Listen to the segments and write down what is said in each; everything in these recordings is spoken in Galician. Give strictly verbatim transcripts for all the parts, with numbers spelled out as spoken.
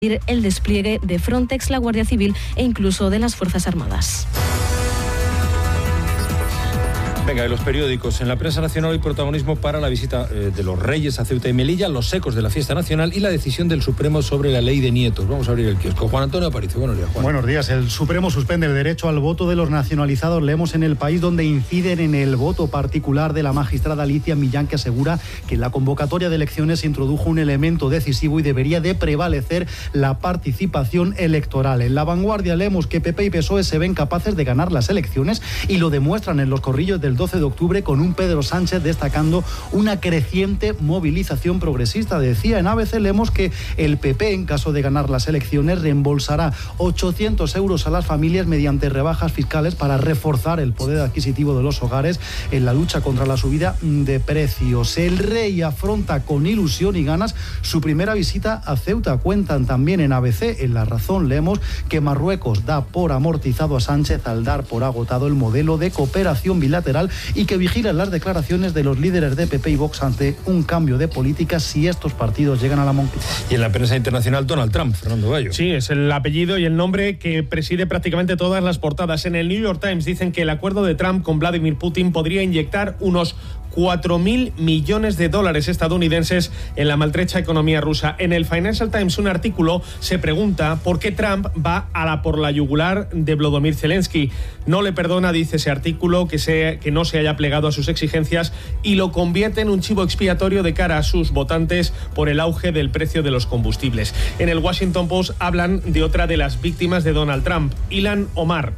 el despliegue de Frontex, la Guardia Civil e incluso de las Fuerzas Armadas. Venga, y los periódicos. En la prensa nacional hay protagonismo para la visita eh, de los Reyes a Ceuta y Melilla, los ecos de la fiesta nacional y la decisión del Supremo sobre la ley de nietos. Vamos a abrir el kiosco. Juan Antonio Aparicio, buenos días, Juan. Buenos días. El Supremo suspende el derecho al voto de los nacionalizados. Leemos en El País, donde inciden en el voto particular de la magistrada Alicia Millán, que asegura que en la convocatoria de elecciones se introdujo un elemento decisivo y debería de prevalecer la participación electoral. En La Vanguardia leemos que P P y P S O E se ven capaces de ganar las elecciones y lo demuestran en los corrillos del doce de octubre, con un Pedro Sánchez destacando una creciente movilización progresista. Decía en A B C, leemos que el P P, en caso de ganar las elecciones, reembolsará ochocientos euros a las familias mediante rebajas fiscales para reforzar el poder adquisitivo de los hogares en la lucha contra la subida de precios. El Rey afronta con ilusión y ganas su primera visita a Ceuta. Cuentan también en A B C, en La Razón, leemos que Marruecos da por amortizado a Sánchez al dar por agotado el modelo de cooperación bilateral y que vigilan las declaraciones de los líderes de P P y Vox ante un cambio de política si estos partidos llegan a la Moncloa. Y en la prensa internacional, Donald Trump, Fernando Bayo. Sí, es el apellido y el nombre que preside prácticamente todas las portadas. En el New York Times dicen que el acuerdo de Trump con Vladimir Putin podría inyectar unos cuatro mil millones de dólares estadounidenses en la maltrecha economía rusa. En el Financial Times, un artículo se pregunta por qué Trump va a la por la yugular de Volodymyr Zelensky. No le perdona, dice ese artículo, que, se, que no se haya plegado a sus exigencias y lo convierte en un chivo expiatorio de cara a sus votantes por el auge del precio de los combustibles. En el Washington Post hablan de otra de las víctimas de Donald Trump, Ilhan Omar.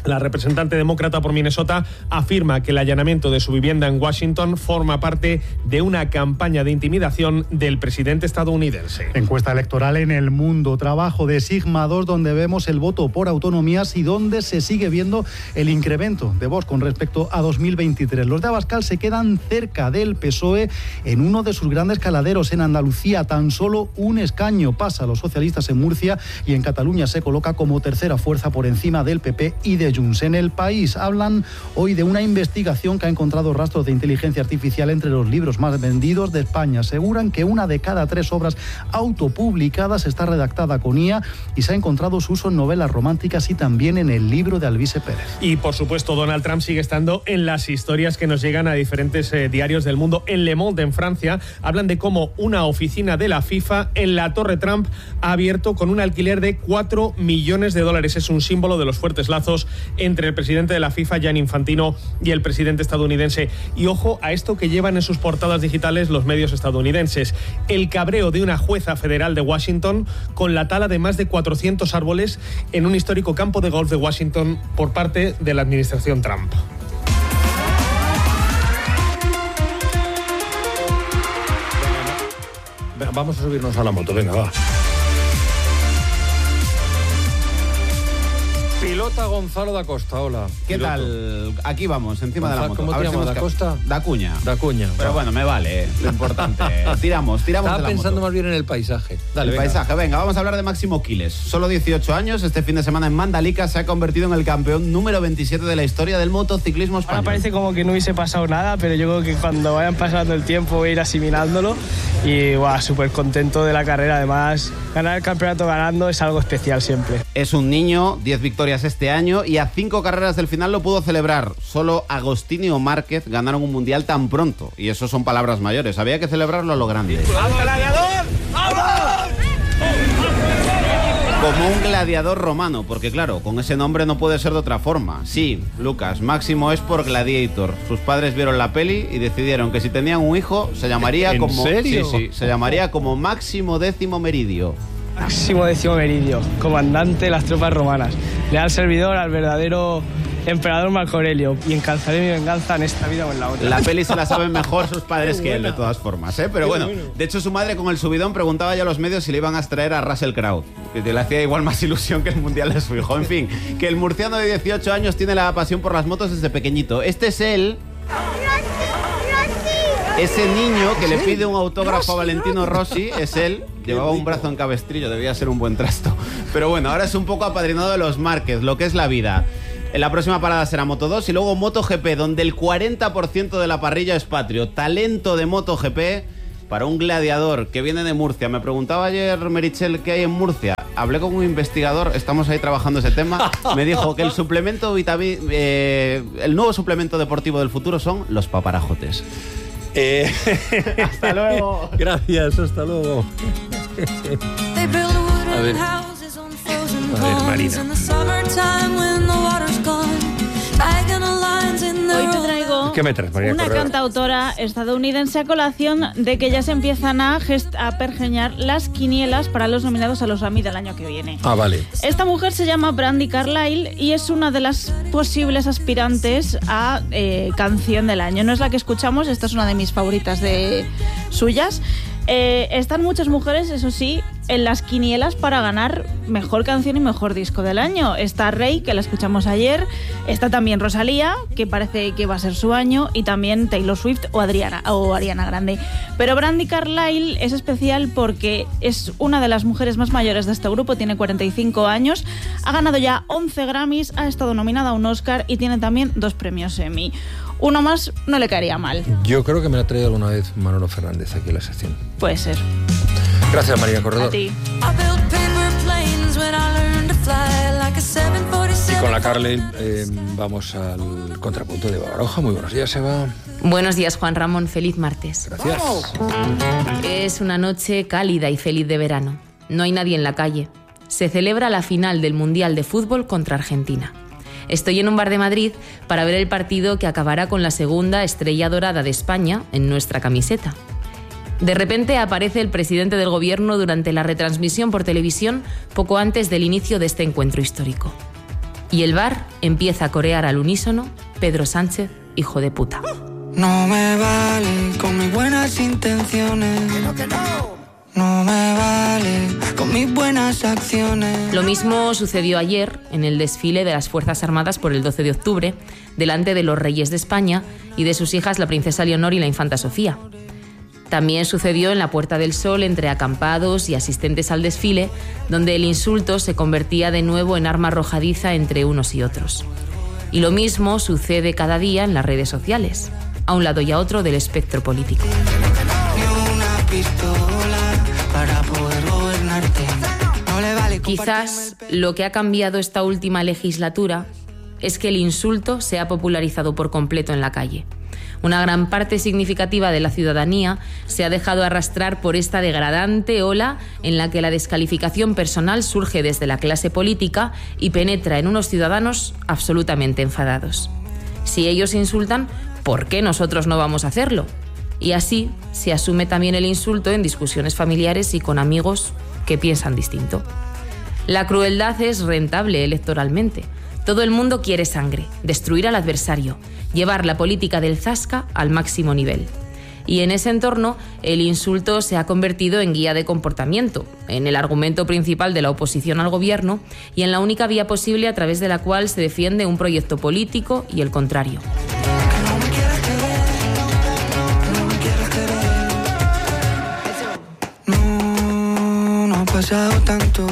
La representante demócrata por Minnesota afirma que el allanamiento de su vivienda en Washington forma parte de una campaña de intimidación del presidente estadounidense. Encuesta electoral en El Mundo, trabajo de Sigma dos, donde vemos el voto por autonomías y donde se sigue viendo el incremento de Vox con respecto a dos mil veintitrés. Los de Abascal se quedan cerca del P S O E en uno de sus grandes caladeros. En Andalucía tan solo un escaño pasa a los socialistas en Murcia y en Cataluña se coloca como tercera fuerza por encima del P P y de Junts. En El País hablan hoy de una investigación que ha encontrado rastros de inteligencia artificial entre los libros más vendidos de España. Aseguran que una de cada tres obras autopublicadas está redactada con I A y se ha encontrado su uso en novelas románticas y también en el libro de Alvise Pérez. Y por supuesto, Donald Trump sigue estando en las historias que nos llegan a diferentes eh, diarios del mundo. En Le Monde, en Francia, hablan de cómo una oficina de la FIFA en la Torre Trump ha abierto con un alquiler de cuatro millones de dólares. Es un símbolo de los fuertes lazos entre el presidente de la FIFA, Gianni Infantino, y el presidente estadounidense. Y ojo a esto que llevan en sus portadas digitales los medios estadounidenses: el cabreo de una jueza federal de Washington con la tala de más de cuatrocientos árboles en un histórico campo de golf de Washington por parte de la administración Trump. Vamos a subirnos a la moto, venga, va. Pilota Gonzalo da Costa, hola. ¿Qué Piloto. tal? Aquí vamos, encima Gonzalo, de la moto. ¿Cómo a te ver llamas, si da hemos... Costa? Da Cuña. Da Cuña. Pero va. bueno, me vale, eh, lo importante. tiramos, tiramos Estaba de la pensando moto. más bien en el paisaje. Dale, el venga. paisaje, venga, vamos a hablar de Máximo Quiles. Solo dieciocho años, este fin de semana en Mandalika se ha convertido en el campeón número veintisiete de la historia del motociclismo español. Ahora parece como que no hubiese pasado nada, pero yo creo que cuando vayan pasando el tiempo voy a ir asimilándolo y wow, súper contento de la carrera. Además, ganar el campeonato ganando es algo especial siempre. Es un niño, diez victorias este año y a cinco carreras del final lo pudo celebrar. Solo Agostini o Márquez ganaron un mundial tan pronto y eso son palabras mayores. Había que celebrarlo a lo grande. ¡Vamos, gladiador! ¡Vamos! Como un gladiador romano, porque claro, con ese nombre no puede ser de otra forma. Sí, Lucas, Máximo es por Gladiator. Sus padres vieron la peli y decidieron que si tenían un hijo se llamaría ¿En como serio? Sí, sí, se llamaría como Máximo Décimo Meridio. Máximo Décimo Meridio, comandante de las tropas romanas. Leal servidor al verdadero emperador Marco Aurelio, y encalzaré mi venganza en esta vida o en la otra. La peli se la saben mejor sus padres que él, de todas formas, ¿eh? Pero bueno, de hecho su madre con el subidón preguntaba ya a los medios si le iban a extraer a Russell Crowe, que le hacía igual más ilusión que el mundial de su hijo. En fin, que el murciano de dieciocho años tiene la pasión por las motos desde pequeñito. Este es él... Ese niño que le pide un autógrafo a Valentino Rossi es él. Llevaba un brazo en cabestrillo, debía ser un buen trasto. Pero bueno, ahora es un poco apadrinado de los Márquez, lo que es la vida. En la próxima parada será Moto dos y luego MotoGP, donde el cuarenta por ciento de la parrilla es patrio. Talento de MotoGP para un gladiador que viene de Murcia. Me preguntaba ayer Merichel qué hay en Murcia. Hablé con un investigador, estamos ahí trabajando ese tema. Me dijo que el suplemento vitami- eh, el nuevo suplemento deportivo del futuro son los paparajotes. Eh... Hasta luego. Gracias, hasta luego. A ver. A ver, Marina. Hoy te traigo ¿Qué me traes, María una Correa? cantautora estadounidense a colación de que ya se empiezan a, gest- a pergeñar las quinielas para los nominados a los Grammy del año que viene. Ah, vale. Esta mujer se llama Brandi Carlile y es una de las posibles aspirantes a eh, canción del año. No es la que escuchamos, esta es una de mis favoritas de suyas. Eh, están muchas mujeres, eso sí, en las quinielas para ganar mejor canción y mejor disco del año. Está Rey, que la escuchamos ayer, está también Rosalía, que parece que va a ser su año, y también Taylor Swift o Adriana, o Ariana Grande. Pero Brandi Carlile es especial porque es una de las mujeres más mayores de este grupo, tiene cuarenta y cinco años, ha ganado ya once Grammys, ha estado nominada a un Oscar y tiene también dos premios Emmy. Uno más no le caería mal. Yo creo que me la ha traído alguna vez Manolo Fernández aquí en la sección. Puede ser. Gracias, María Corredor. A ti. Y con la Carlile eh, vamos al contrapunto de Baroja. Muy buenos días, Eva. Buenos días, Juan Ramón. Feliz martes. Gracias. Es una noche cálida y feliz de verano. No hay nadie en la calle. Se celebra la final del Mundial de Fútbol contra Argentina. Estoy en un bar de Madrid para ver el partido que acabará con la segunda estrella dorada de España en nuestra camiseta. De repente aparece el presidente del gobierno durante la retransmisión por televisión poco antes del inicio de este encuentro histórico. Y el bar empieza a corear al unísono Pedro Sánchez, hijo de puta. No me vale con mis buenas intenciones. No me vale con mis buenas acciones. Lo mismo sucedió ayer en el desfile de las Fuerzas Armadas por el doce de octubre, delante de los reyes de España y de sus hijas la princesa Leonor y la infanta Sofía. También sucedió en la Puerta del Sol entre acampados y asistentes al desfile, donde el insulto se convertía de nuevo en arma arrojadiza entre unos y otros. Y lo mismo sucede cada día en las redes sociales, a un lado y a otro del espectro político. Para poder gobernarte. No le vale. Quizás lo que ha cambiado esta última legislatura es que el insulto se ha popularizado por completo en la calle. Una gran parte significativa de la ciudadanía se ha dejado arrastrar por esta degradante ola en la que la descalificación personal surge desde la clase política y penetra en unos ciudadanos absolutamente enfadados. Si ellos insultan, ¿por qué nosotros no vamos a hacerlo? Y así se asume también el insulto en discusiones familiares y con amigos que piensan distinto. La crueldad es rentable electoralmente. Todo el mundo quiere sangre, destruir al adversario, llevar la política del zasca al máximo nivel. Y en ese entorno, el insulto se ha convertido en guía de comportamiento, en el argumento principal de la oposición al gobierno y en la única vía posible a través de la cual se defiende un proyecto político y el contrario. Pasado tanto.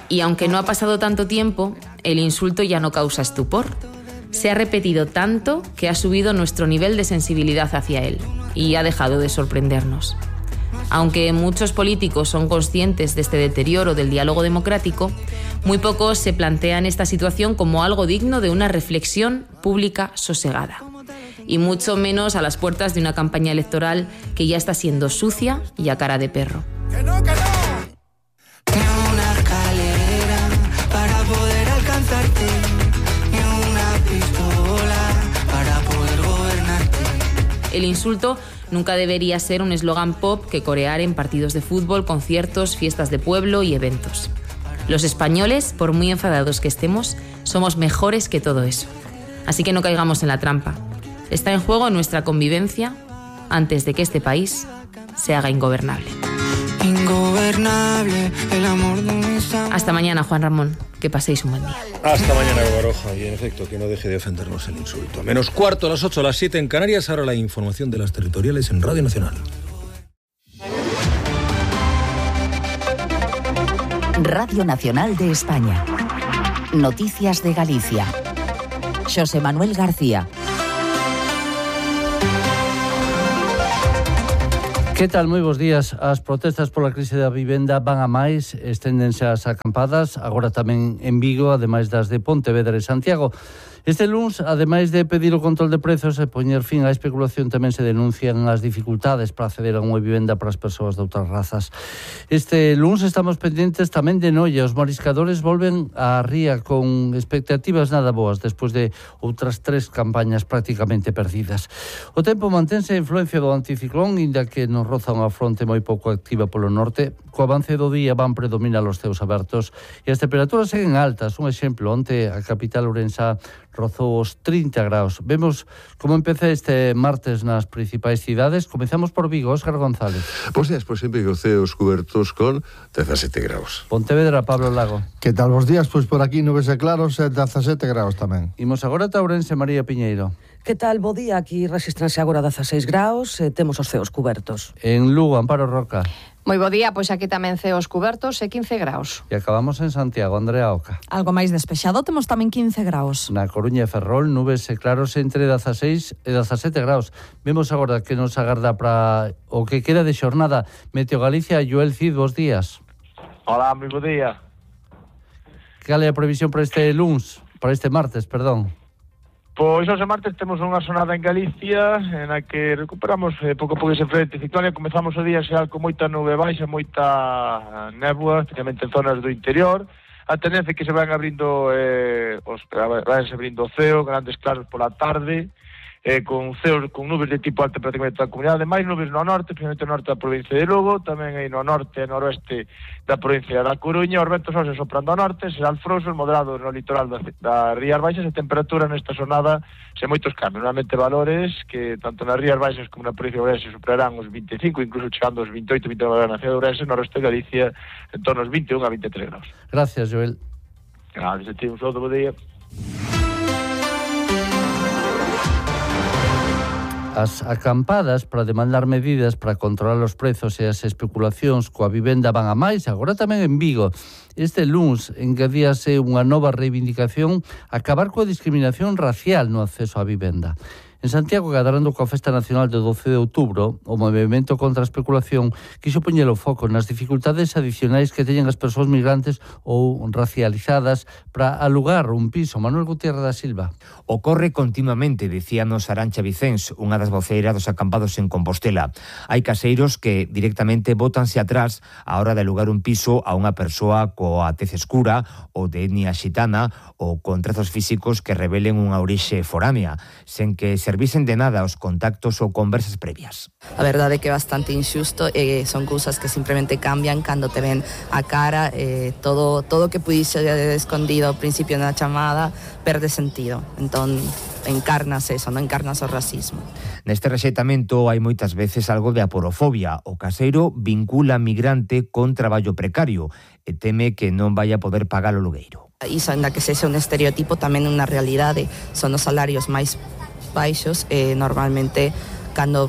Y aunque no ha pasado tanto tiempo, el insulto ya no causa estupor. Se ha repetido tanto que ha subido nuestro nivel de sensibilidad hacia él y ha dejado de sorprendernos. Aunque muchos políticos son conscientes de este deterioro del diálogo democrático, muy pocos se plantean esta situación como algo digno de una reflexión pública sosegada. Y mucho menos a las puertas de una campaña electoral que ya está siendo sucia y a cara de perro. ¡Que no, que no! Ni una escalera para poder alcanzarte, ni una pistola para poder gobernarte. El insulto nunca debería ser un eslogan pop que corear en partidos de fútbol, conciertos, fiestas de pueblo y eventos. Los españoles, por muy enfadados que estemos, somos mejores que todo eso. Así que no caigamos en la trampa. Está en juego nuestra convivencia antes de que este país se haga ingobernable. Ingobernable, el amor de mis amores. Hasta mañana, Juan Ramón. Que paséis un buen día. Hasta mañana, Baroja. Y en efecto, que no deje de ofendernos el insulto. Menos cuarto, a las ocho, a las siete en Canarias. Ahora la información de las territoriales en Radio Nacional. Radio Nacional de España. Noticias de Galicia. José Manuel García. Que tal? Moi bons días. As protestas pola crise da vivenda van a máis, esténdense as acampadas, agora tamén en Vigo, ademais das de Pontevedra e Santiago. Este luns, ademais de pedir o control de prezos e poñer fin á especulación, tamén se denuncian as dificultades para acceder a unha vivenda para as persoas de outras razas. Este luns estamos pendentes tamén de Noia. Os mariscadores volven á ría con expectativas nada boas despois de outras tres campañas prácticamente perdidas. O tempo mantense a influencia do anticiclón, inda que nos roza unha fronte moi pouco activa polo norte. Co avance do día van predominar os ceos abertos e as temperaturas seguen altas. Un exemplo, onte a capital ourensá rozou os trinta graus. Vemos como empeza este martes nas principais cidades. Comezamos por Vigo, Óscar González. Bos días, pois en Vigo, ceos cubertos con dezasete graus. Pontevedra, Pablo Lago. Que tal bos días? Pois por aquí nubes e claros e dezasete graus tamén. Imos agora a Ourense, María Piñeiro. Que tal, bo día? Aquí resistranse agora dezaseis graus e temos os ceos cubertos. En Lugo, Amparo Roca. Moi bo día, pois aquí tamén ceos cubertos e quince graus. E acabamos en Santiago, Andrea Oca. Algo máis despexado, temos tamén quince graus. Na Coruña e Ferrol, nubes e claros entre dezaseis e dezasete graus. Vemos agora que nos agarda para o que queda de xornada. Meteo Galicia, Joel Cid, bos días. Hola, moi bo día. Cal é a previsión para este luns, para este martes, perdón? Pois hoxe martes temos unha sonada en Galicia en a que recuperamos eh, pouco a pouco ese frente ciclónico. Comezamos o día xa con moita nube baixa, moita néboa, especialmente en zonas do interior. A tendencia é que se van abrindo eh, os, van se abrindo o ceo, grandes claros pola tarde, eh, con ceos, con nubes de tipo alto prácticamente toda a comunidade, máis nubes no norte, especialmente no norte da provincia de Lugo, tamén aí no norte e noroeste da provincia da Coruña. Os ventos hoxe soprando ao norte, serán frouxos, moderados no litoral da, da Rías Baixas, e temperatura nesta sonada sen moitos cambios. Normalmente valores que tanto nas Rías Baixas como na provincia de Ourense superarán os vinte e cinco, incluso chegando aos vinte e oito, vinte e nove na cidade de Ourense, no resto de Galicia en torno aos vinte e un a vinte e tres graus. Gracias, Joel. Gracias a ti, un saludo, bo día. As acampadas para demandar medidas para controlar os prezos e as especulacións coa vivenda van a máis, agora tamén en Vigo. Este luns engadíase unha nova reivindicación, acabar coa discriminación racial no acceso á vivenda. En Santiago, cadrando coa Festa Nacional do doce de outubro, o movimento contra a especulación quixo poñer o foco nas dificultades adicionais que teñen as persoas migrantes ou racializadas para alugar un piso. Manuel Gutiérrez da Silva. Ocorre continuamente, dicíanos Arancha Vicens, unha das voceiras dos acampados en Compostela. Hai caseiros que directamente bótanse atrás a hora de alugar un piso a unha persoa coa tez escura ou de etnia xitana ou con trazos físicos que revelen unha orixe foránea, sen que servisen de nada os contactos ou conversas previas. A verdade é que é bastante injusto e son cousas que simplemente cambian cando te ven a cara, eh, todo todo que pudiese escondido ao principio na chamada perde sentido. Entón, encarnas eso, non encarnas o racismo. Neste rexeitamento hai moitas veces algo de aporofobia. O caseiro vincula migrante con traballo precario e teme que non vai a poder pagar o alugueiro. Iso, ainda que sexa un estereotipo, tamén unha realidade. Son os salarios máis baixos e normalmente cando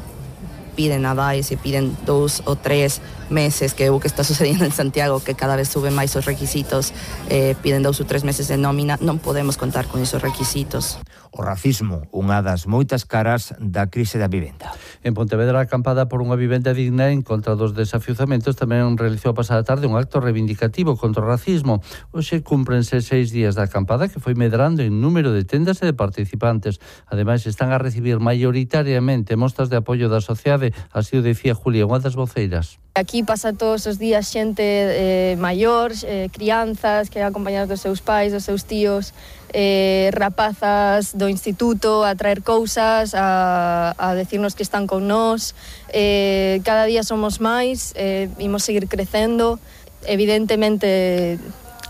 piden avais e piden dous ou tres meses, que é o que está sucedendo en Santiago, que cada vez suben máis os requisitos, eh, piden dous ou tres meses de nómina, non podemos contar con esos requisitos. O racismo, unha das moitas caras da crise da vivenda. En Pontevedra, acampada por unha vivenda digna en contra dos desafiuzamentos, tamén realizou a pasada tarde un acto reivindicativo contra o racismo. Hoxe cúmprense seis días da acampada, que foi medrando en número de tendas e de participantes. Ademais, están a recibir maioritariamente mostras de apoio da sociedade, así o decía Julia, unha das voceiras. Aquí pasa todos os días xente eh, maior, eh, crianzas que acompañadas dos seus pais, dos seus tíos, eh, rapazas do instituto a traer cousas, a, a decirnos que están con nós. Eh, cada día somos máis, eh, imos seguir crecendo. Evidentemente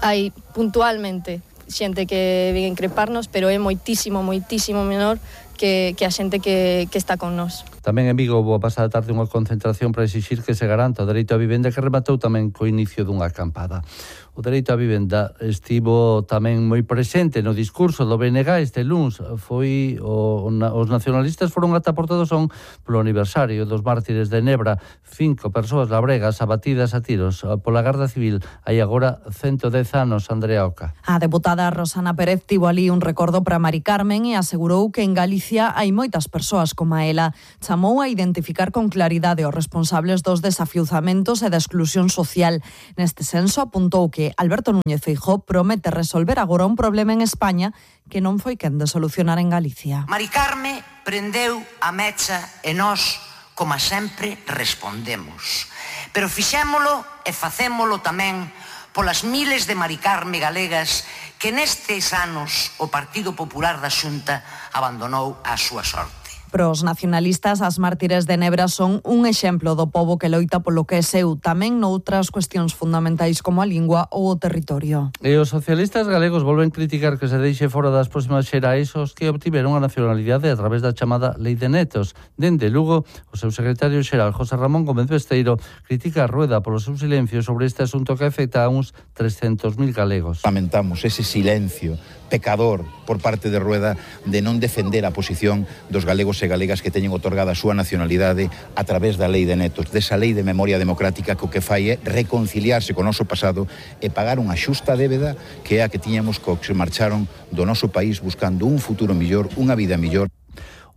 hai puntualmente xente que vén increparnos, pero é moitísimo, moitísimo menor que, que a xente que, que está con nós. Tamén en Vigo houve a pasada tarde unha concentración para exixir que se garanta o dereito á vivenda, que rematou tamén co inicio dunha acampada. O dereito á vivenda estivo tamén moi presente no discurso do B N G este luns. Foi o, os nacionalistas foron ata Portodosón polo aniversario dos mártires de Nebra. Cinco persoas labregas abatidas a tiros pola Garda Civil. Hai agora ciento dez anos, Andrea Oca. A deputada Rosana Pérez tivo ali un recordo para Mari Carmen e asegurou que en Galicia hai moitas persoas como a ela. chamou a identificar con claridade os responsables dos desafiuzamentos e da exclusión social. Neste senso, apuntou que Alberto Núñez Feijóo promete resolver agora un problema en España que non foi quen de solucionar en Galicia. Mari Carme prendeu a mecha e nós, como sempre, respondemos. Pero fixémolo e facémolo tamén polas miles de Mari Carme galegas que nestes anos o Partido Popular da Xunta abandonou a súa sorte. Para os nacionalistas, as mártires de Nebra son un exemplo do pobo que loita polo que é seu, tamén noutras cuestións fundamentais como a lingua ou o territorio. E os socialistas galegos volven criticar que se deixe fora das próximas xerais os que obtiveron a nacionalidade a través da chamada Lei de Netos. Dende Lugo, o seu secretario xeral, José Ramón Gómez Besteiro, critica a Rueda polo seu silencio sobre este asunto que afecta a uns trescentos mil galegos. Lamentamos ese silencio pecador por parte de Rueda de non defender a posición dos galegos e galegas que teñen otorgada a súa nacionalidade a través da Lei de Netos, desa Lei de Memoria Democrática que o que fai é reconciliarse co noso pasado e pagar unha xusta débeda que é a que tiñamos co que se marcharon do noso país buscando un futuro millor, unha vida millor.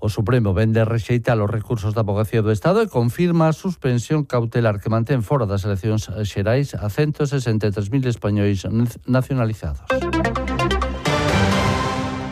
O Supremo vende rexeitar os recursos da Abogacía do Estado e confirma a suspensión cautelar que mantén fora das eleccións xerais a ciento sesenta e tres mil españois nacionalizados.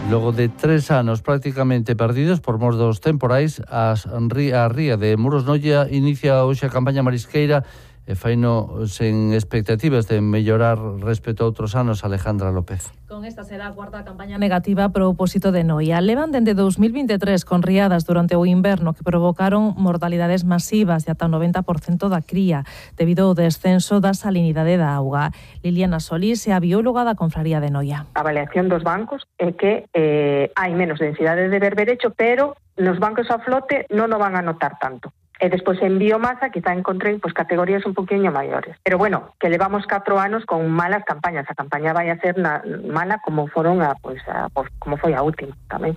Logo de tres anos prácticamente perdidos por mor dos temporais, as, a ría de Muros Noia inicia hoxe a campaña marisqueira e faino sen expectativas de mellorar respecto a outros anos. Alejandra López. Con esta será a cuarta campaña negativa a propósito de Noia. Levan dende dous mil vinte e tres con riadas durante o inverno que provocaron mortalidades masivas de ata o noventa por cento da cría debido ao descenso da salinidade da auga. Liliana Solís é a bióloga da Confraría de Noia. A avaliación dos bancos é que eh, hai menos densidade de berberecho, pero nos bancos a flote non o van a notar tanto. E despois en biomasa quizá encontrei pues, categorías un poquinho maiores. Pero bueno, que levamos catro anos con malas campañas. A campaña vai a ser na, mala como foron a, pues, a, pues, como foi a última tamén.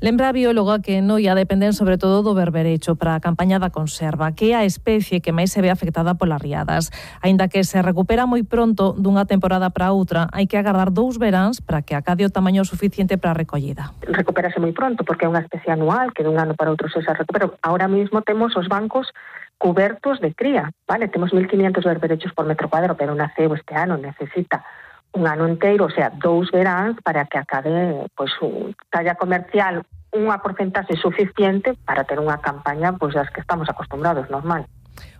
Lembra a bióloga que en Noia dependen sobre todo do berberecho para a campaña da conserva, que é a especie que máis se ve afectada polas riadas. Aínda que se recupera moi pronto dunha temporada para outra, hai que agardar dous veráns para que acade o tamaño suficiente para a recollida. Recupérase moi pronto porque é unha especie anual que dun ano para outro se recupera. Ahora mismo temos os bancos cubertos de cría, vale? Temos mil quinientos berberechos por metro cuadrado, pero naceu este ano, necesita un ano inteiro, o sea, dous veráns para que acabe pois, un talla comercial unha porcentaxe suficiente para ter unha campaña pois, das que estamos acostumbrados, normal.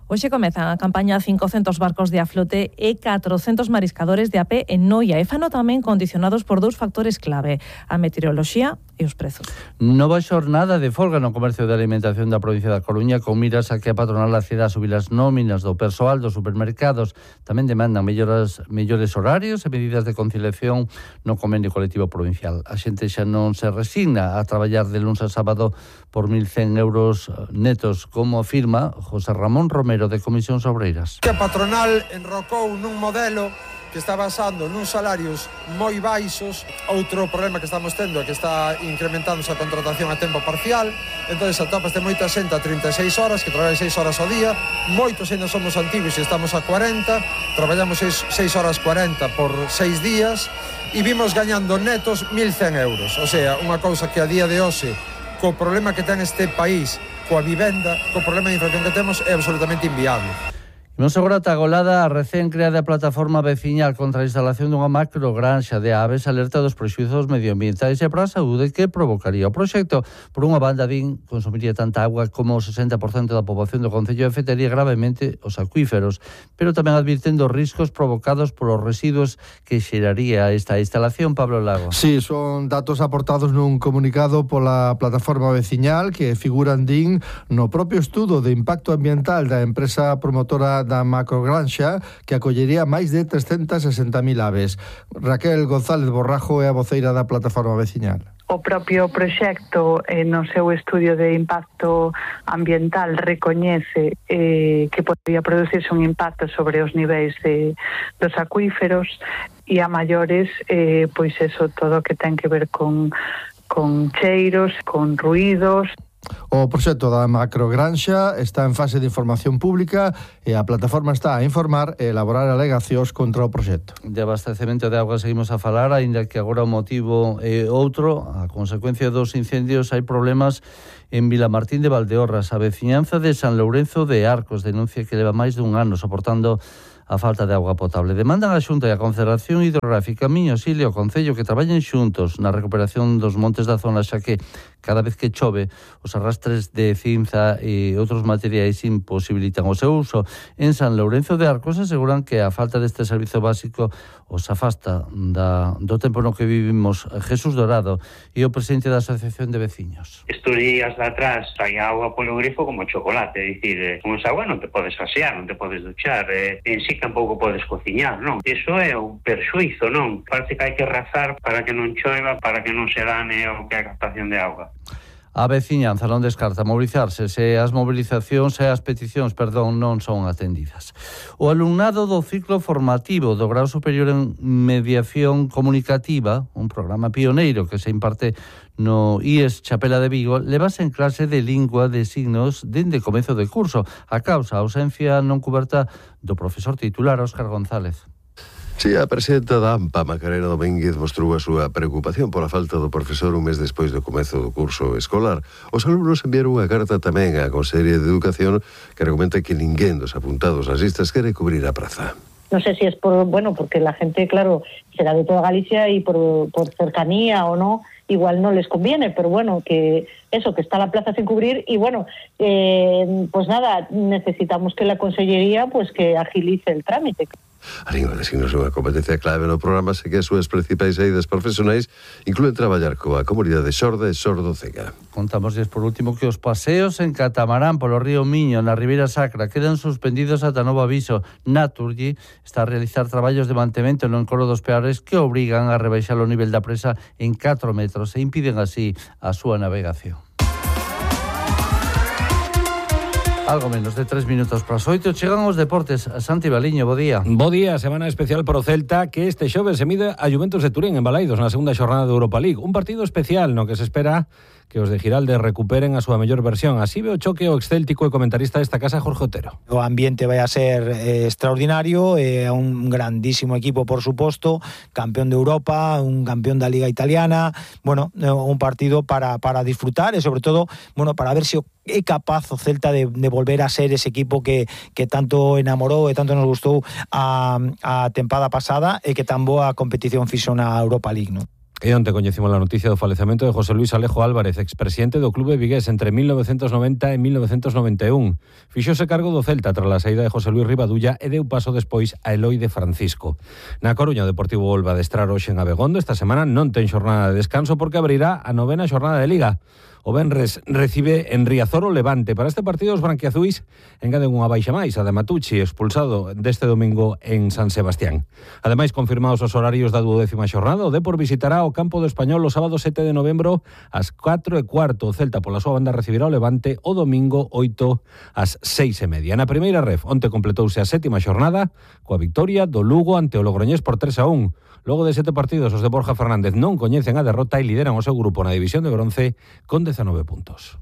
Hoxe comezan a campaña cincocentos barcos de aflote e catrocentos mariscadores de a pé en Noia e fano tamén condicionados por dous factores clave, a meteoroloxía e os prezos. Nova xornada de folga no comercio de alimentación da provincia da Coruña con miras a que a patronal acceda a subir as nóminas do persoal dos supermercados. Tamén demandan melloras, mellores horarios e medidas de conciliación no convenio colectivo provincial. A xente xa non se resigna a traballar de luns a sábado por mil cen euros netos, como afirma José Ramón Romero de Comisións Obreiras. Que a patronal enrocou nun modelo que está basando nuns salarios moi baixos. Outro problema que estamos tendo é que está incrementándose a contratación a tempo parcial, entonces atopaste moita xente a trinta e seis horas, que traballa seis horas ao día, moitos ainda somos antigos e estamos a cuarenta, traballamos seis horas cuarenta por seis días e vimos gañando netos mil cen euros, o sea, unha cousa que a día de hoxe, co problema que ten este país, coa vivenda, co problema de inflación que temos, é absolutamente inviable. Imos agora ata Golada, a recén creada plataforma veciñal contra a instalación dunha macrogranxa de aves alerta dos prexuizos medioambientais e para a saúde que provocaría o proxecto. Por unha banda, din, consumiría tanta agua como o sesenta por cento da poboación do concello e afectaría gravemente os acuíferos, pero tamén advirten dos riscos provocados polos residuos que xeraría esta instalación. Pablo Lago. Sí, son datos aportados nun comunicado pola plataforma veciñal que figuran, din, no propio estudo de impacto ambiental da empresa promotora da macrogranxa que acollería máis de trescentas e sesenta mil aves. Raquel González Borrajo é a voceira da plataforma veciñal. O propio proxecto eh, no seu estudio de impacto ambiental recoñece eh, que podría producirse un impacto sobre os niveis de, dos acuíferos e a maiores, eh, pois eso, todo o que ten que ver con, con cheiros, con ruídos. O proxecto da macrogranxa está en fase de información pública e a plataforma está a informar e elaborar alegacións contra o proxecto. De abastecemento de auga seguimos a falar, aínda que agora o motivo é outro. A consecuencia dos incendios hai problemas en Vilamartín de Valdeorras. A veciñanza de San Lourenzo de Arcos denuncia que leva máis dun ano soportando a falta de auga potable. Demandan a Xunta e a Confederación Hidrográfica Miños, Ile e o Concello que traballen xuntos na recuperación dos montes da zona, xa que cada vez que chove os arrastres de cinza e outros materiais imposibilitan o seu uso. En San Lourenzo de Arcos aseguran que a falta deste servizo básico os afasta da, do tempo no que vivimos. Jesús Dorado e o presidente da Asociación de Veciños. Estos días de atrás hai agua polo grifo como chocolate, é dicir, eh, con esa agua non te podes asear, non te podes duchar, eh, en sí tampouco podes cociñar, non? Iso é un perxuízo, non? Parece que hai que rezar para que non choiva, para que non se dane o que é a captación de auga. A veciñanza non descarta mobilizarse se as mobilizacións e as peticións, perdón, non son atendidas. O alumnado do ciclo formativo do Grao Superior en Mediación Comunicativa, un programa pioneiro que se imparte no I E S Chapela de Vigo, levase en clase de lingua de signos dende comezo de curso, a causa a ausencia non cuberta do profesor titular Óscar González. Si, a presidenta da AMPA, Macarena Domínguez, mostrou a súa preocupación pola falta do profesor un mes despois do comezo do curso escolar. Os alumnos enviaron unha carta tamén á Consellería de Educación que argumenta que ninguén dos apuntados ás listas quere cubrir a praza. No sé si es por, bueno, porque la gente, claro, será de toda Galicia y por, por cercanía o no, igual no les conviene, pero bueno, que eso, que está la plaza sin cubrir y bueno, eh, pues nada, necesitamos que la Consellería pues que agilice el trámite. A lingua de signos é unha competencia clave no programa, se que as súas principais eidas profesionais incluen traballar coa comunidade sorda e sordo-cega. Contamosles por último que os paseos en catamarán polo río Miño na Ribeira Sacra quedan suspendidos ata novo aviso. Naturgy está a realizar traballos de mantemento no encoro dos Peares que obrigan a rebaixar o nivel da presa en catro metros e impiden así a súa navegación. Algo menos de tres minutos para as oito. Chegan os deportes. Santi Baliño, bo día. Bo día, semana especial para o Celta que este xoves se mide a Juventus de Turín en Balaidos na segunda xornada de Europa League. Un partido especial no que se espera que os de Giralde recuperen a súa mellor versión. Así ve o choque o excéltico e comentarista desta casa, Jorge Otero. O ambiente vai a ser eh, extraordinario, é eh, un grandísimo equipo, por suposto, campeón de Europa, un campeón da Liga Italiana, bueno, eh, un partido para, para disfrutar e sobre todo, bueno, para ver se é capaz o Celta de, de volver a ser ese equipo que, que tanto enamorou e tanto nos gustou a, a tempada pasada e que tan boa competición fixo na Europa League, non? E onte coñecimos a noticia do falecemento de José Luis Alejo Álvarez, expresidente do clube vigués entre mil novecentos noventa e mil novecentos noventa e un. Fixose cargo do Celta tras a saída de José Luis Rivadulla e deu paso despois a Eloi de Francisco. Na Coruña o Deportivo volve a adestrar hoxe en Abegondo. Esta semana non ten xornada de descanso porque abrirá a novena xornada de Liga. O Benres recibe en Riazor o Levante. Para este partido os branquiazuis engaden unha baixa máis, a de Matucci, expulsado deste domingo en San Sebastián. Ademais, confirmados os horarios da duodécima xornada, o Depor visitará o campo do Español o sábado sete de novembro ás catro e cuarto. O Celta pola súa banda recibirá o Levante o domingo oito ás seis e media. Na primeira ref, onte completouse a sétima xornada coa victoria do Lugo ante o Logroñés por tres a un. Logo de sete partidos, os de Borja Fernández non coñecen a derrota e lideran o seu grupo na división de bronce con dezanove puntos.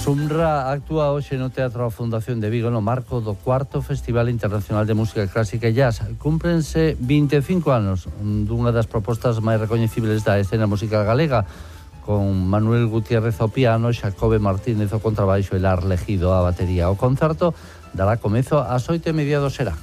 Sumra actúa hoxe no Teatro da Fundación de Vigo no marco do cuarto Festival Internacional de Música Clásica e Jazz. Cúmprense vinte e cinco anos dunha das propostas máis recoñecibles da escena musical galega, con Manuel Gutiérrez ao piano, Xacobe Martínez ao contrabaixo e Lar Legido á batería. O concerto dará comezo ás oito e media do será.